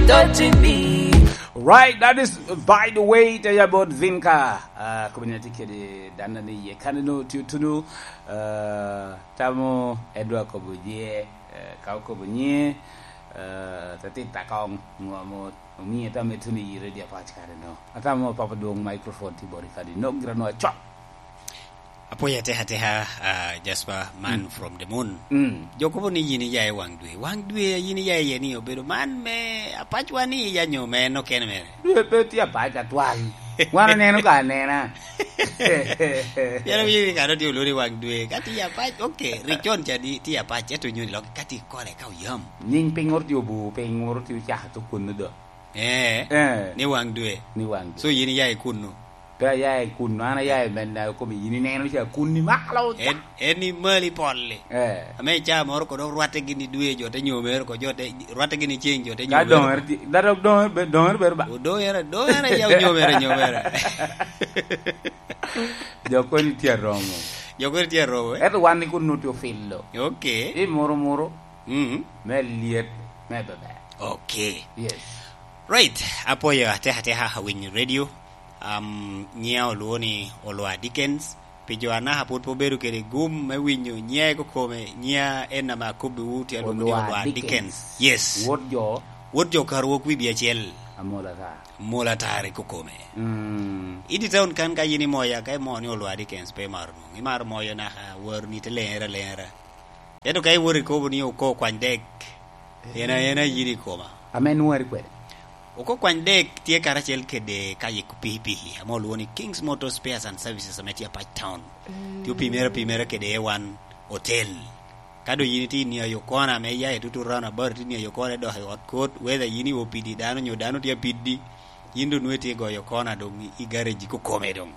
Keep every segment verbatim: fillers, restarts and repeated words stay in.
Touching me. Right, that is by the way, tell you about Vinka. Uh, community kedi dana ni ye kanino tiyo tunu. Uh, tamo edwa kobo ye, uh, kao kobo nye, uh, tati takong ngwamo. Omiye tamo etuni yire dia pach kare no. Atamo papa dwong microphone ti bori kadi no gira no achok. Apoya teha teha, uh, Jasper man, mm, from the moon. Mm. Jo kobo ni yin iya i wang dwe. Wang dwe yin iya iye ni obedo man me apacwa ni iya nyo me en okene mere. Dwe pe tye apac atwal. Wan oneno ka anena. Yara wiye kano tye olori wang dwe. Ka tye apac, okay, rik con ca di tye apac, eto nyoni lok ka tye kore ka oyam. Nying piny oro tye obu, piny oro tye ocaka to kunnu do. Eh, eh, ni wang dwe. Ni wang dwe. So yin iya i kunnu? Pe aya i kunnu, an aya i men na kome yin ineno ca kunni malo ca. En, en i mali polli. Eh. Ame i caa moro kono rwatte gini dwe jo te nyomere ko jo te, rwatte gini ceng jo te nyomere. Ka doŋere ti-, da dok doŋere be-, doŋere bedo ba? O doŋere, doŋere ya nyomere, nyomere. Jo koni tye aromo. Jo koni tye aromo, eh? Eto wan ni kunnu tye ofillo. Okay. I muro muro. Mm. Me lyet, me beber. Okay. Yes. Right, apoyo ateka ateka awinyo radio. Um, nyiŋa olwoŋo ni Olwa Dickens. Pi jo anaka pwod pe obedo kede gum me winyo nyiŋa i kokome, nyiŋa en ame akobbiwu tye alwoŋo ni Olwa Olwa Dickens. Dickens. Yes. Wot jo. Wot jo karwok wi bia acel. Amola ta. Mola tar i kokome. Mm. Idi taun kan ka yin imoya, ka imo ni Olwa Dickens pe imaro nwoŋo. Imaro moyo naka waroni te leŋere aleŋera. Ento ka iwoto ikobo ni oko kwany dek, en a-, en ayin i koma. Ame nwari kwede? Oko kwany dek tye karacel kede ka yiko pikipiki, ame olwoŋo ni Kings Motor Spares and Services ame tye Apac Town. Mm. Tye opimere apimere kede A one Hotel. Ka doŋ yin itye i niayo kona ame iya i tutu round about, itye i niayo kona idok i ot kot, whether yin i O P D dano nyo dano tye apiddi, yin doŋ nwoŋo itye i goyo kona doŋ i garage kokome doŋ.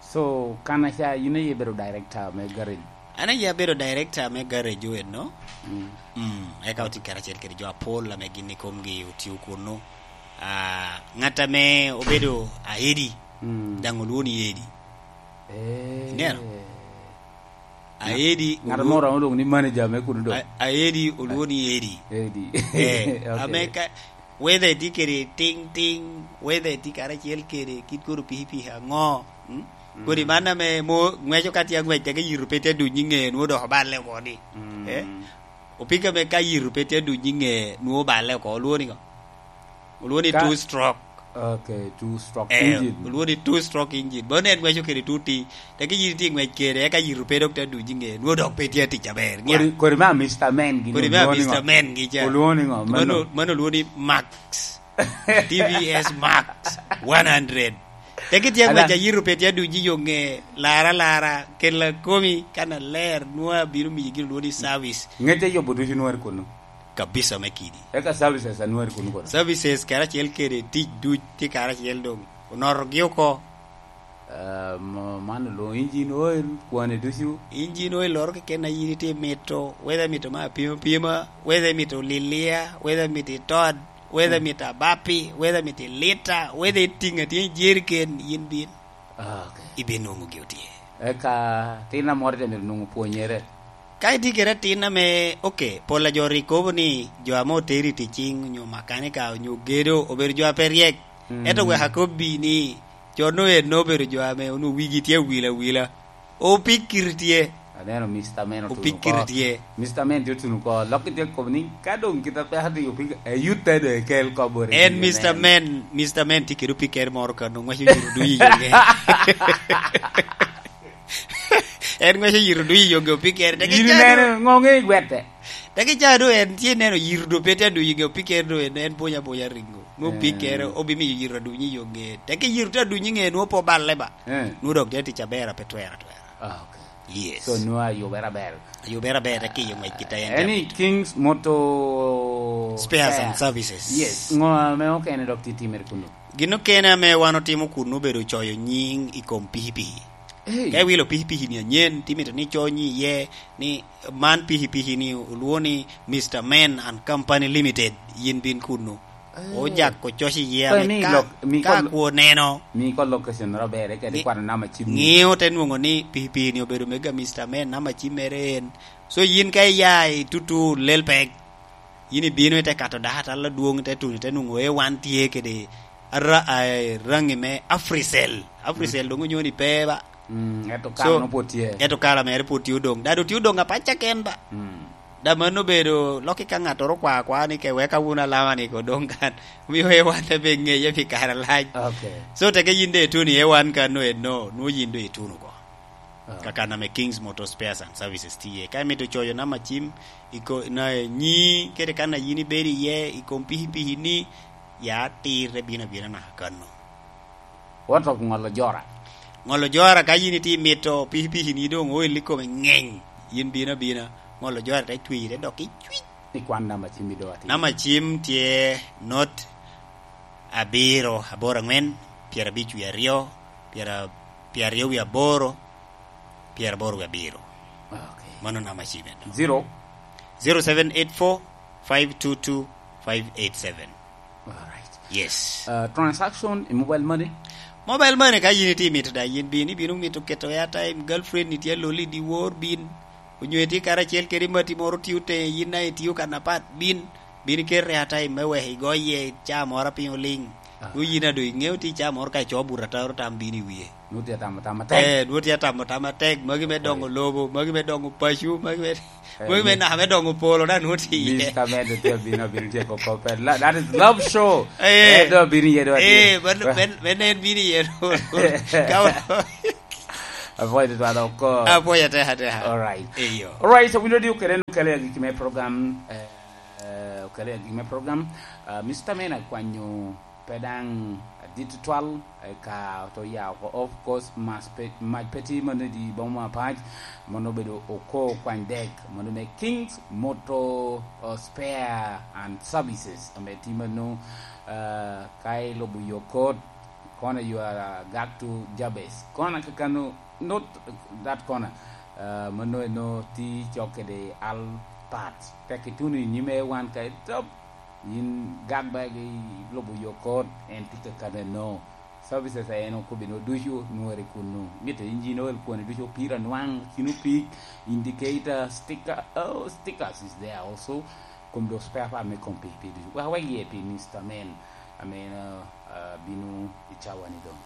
So, kan aca, yin aye ibedo director me garage? An aye abedo director me garage eno. Mm. Mm, eka otye karacel kede jo apol ame gin i komgi otio kunu. Ah, ŋat ame obedo aedi, mm, daŋ olwoŋo ni Edi. Eh. Ineno? Aedi ŋat olwoŋo moro ame olwoŋo ni manager me kunu do. A-, aedi olwoŋo ni Edi. Edi. Eh, okay. Ame ka, whether itye kede tiŋ tiŋ, whether itye karacel kede kit kono pikipiki aŋo, mm? Mm. Kodi man ame mo ŋweco ka tye aŋwec, teke yito pe tye aduny i ŋe, nwoŋo dok oballe oko ni. Mm. Eh? Opika me ka yito pe tye aduny i ŋe, nwoŋo oballe oko, olwoŋo ni ŋo? Olwoŋo ni ka two stroke. Okay, two stroke engine. Eh, olwoŋo ni two stroke engine. Mano en ŋweco kede two T. Teke yito tye ŋwec kede, eka yito pe dok tye aduny i ŋe, nwoŋo dok pe tye atic aber. Nia. Kodi, kodi ma Mister Men gin kodi ma olwoŋo ni ŋo? Mister Men gi ca. Olwoŋo ni ŋo? Mano, mano olwoŋo ni Max. T V S Max one hundred. Teke tye aŋwec ayito pe tye aduny i yo ŋe, lara lara, kela komi, kan aler, nwoŋo abino miyi gin olwoŋo ni service. Ŋec ayubo ducu nwari kunu. Kabisa me kidi. Eka services anwari kunu kono? Services karacel kede tic duc tye karacel doŋ. Onotogi oko. Ah, mo-, man olwoŋo engine oil, kwane ducu. Engine oil loro keken a yin itye mito, whether imito me apima pima, whether imito lilia, whether imito itod, whether imito abapi, whether imito ilita, whether itiŋ atye i jeriken, yin bin. Ah, okay. Ibinwoŋogi otye. Eka tin amoro te myero nwoŋo pwonyere. Ka itye kede atin ame, okay, pol a jo rik kobo ni jo ame oteri i ticing, onyo makanika, onyo gedo, obedo jo a pe ryek. Mm. Ento wek akobbi ni, jo no en obedo jo ame onwoŋo wigi tye awila awila. Opikiri tye. Aneno Mister Men otuno oko. Opikiri tye. Mister Men tye otuno oko. Lok itye kobo ni, ka doŋ kit apeka tye opik-, eyutte doŋ ekel kobo ri. En Mister Men, Mister Men tye kede opikere moro kano, ŋwaco yito duc i yonge. En ŋwaco yito duc i yonge opikere. Teke yin ineno ŋo ŋe igwete? Teke ca do en tye neno yito do pe tye aduc i nge opikere do en, en bonya bonya ringo. Nwo opikere, eh, obimiyo yito aduny i yonge. Teke yito tye aduny i nge, nwo pe oballe ba. Eh. Nwo dok tye tic aber, pe twero atwera. Ah, okay. Yes. So, nwa ayubere aber. Ayubere aber, tek i yo ngwec kit a en. Any tye Kings Motor Spares and Services. Yes. Ngo ame okene dok tye timere kunu? Gin okene ame wan otimo kunu obedo coyo nying i kom pikipiki. Hey. Ka iwilo pikipiki ni anyen, timito ni coyo nying iye, ni man pikipiki ni olwoŋo ni Mister Men and Company Limited, yin bin kunu. Eh. Ojak ococ iye ame mi ka, lok, mi ka kwo neno. Mi ko location ro bere, kede kwano namba cim ni. Ng'iyo te nwoŋo ni pikipiki ni obedo mega Mister Men, namba cim mere en. So yin ka iya i tutu lel pek, Yin ibino ite kato dako atal adwoŋ, ite tuno, ite nwoŋo A one tye kede ara-, a, raŋi me Africell. Africell doŋ onyo ni pe ba. Mm, ento So, kare no pwod tye. Ento kare mere pwod tye odoŋ. Dado tye odoŋ apac keken ba. Mm. Da mano obedo lokki ka ŋattoro okwa akwa ni ke weka wun alama ni ko doŋ kan. Omio A one te be ŋeye pi kare alac. Okay. So, teke yin de ituno i A one kan no eno, nwo yin do ituno oko. Ah. Kaka name Kings Motor Spares and Services tye. Ka imito coyo namba cim, iko-, na nyi, kede kan a yin ibedo iye, i kom pikipiki ni, ya atirre bino abina naka kano. What of ŋolo jora? Ŋolo jora, ka yin itye mito pikipiki ni doŋ oil i kome ŋeny, yin bino abina, ŋolo jora te cwire dok icwic. I kwan namba cim i doŋ atir. Namba cim tye not abiro aboro aŋwen, pyerabic wie aryo, pyera-, pyeraryo wie aboro, pyeraboro wie abiro. Okay. Mano namba cim eno. Zero? Zero seven eight four, five two two, five eight seven. Alright. Yes. Uh, transaction i mobile money? Mobile money ka yin itye mito da, yin bin, ibino mito keto airtime, girlfriend ni tye aloli di wor bin, onyo itye karacel kede mati moro tye otenge, yin na itio kan apat bin, bin iketo airtime me wek igo iye ca moro a piny oliŋ. Ah. Ku yin a doŋ iŋeo tye ca moro ka ico buto ataro tam bin i wie. Nwoŋo tye atamo tam atek. Eh, nwoŋo tye atamo tam atek, magi me doŋo lobo, magi me doŋo paco, magi me, eh, magi me naka me doŋo polo, da nwoŋo tye iye. Mister Mendo tye abino, abino tye koko pe. La-, that is love show. Eh. Eh, do abino iye, do eh, atye. Men, men, men en bino iye, do. Ka wa- Apwoyo tutwal oko. Apwoyo atek, atek. All right. Eyo. All right, so wino di okele, okele agiki me program, eh, eh, okele agiki me program. Ah, Mister Mendo akwanyo pe daŋ adit tutwal, eka oto ya oko. Of course, mas pe-, mac pe tye mano i boma apac, mano obedo oko kwany dek, mano me Kings Motor, uh, Spare and Services, ame tye mano, uh, ka ilubo yo kot, corner you are, uh, Gaktu Jabez. Corner kakano, not that corner, uh, mano eno tye cok kede Al Parts. Tek ituno i nyime wan ka itop, yin gak ba ilubo yo kot, en tye kakano eno. Services a en okobbi no ducu nwori kunu. Mitte engine oil kwoni ducu, opira nwaŋ, kino pig, indicator, sticker, oh, stickers is there also. Kom do spare part me kom pikipiki ducu. Wek awek iye pi Mister Men, ame, uh, uh, bino i cawa ni doŋ.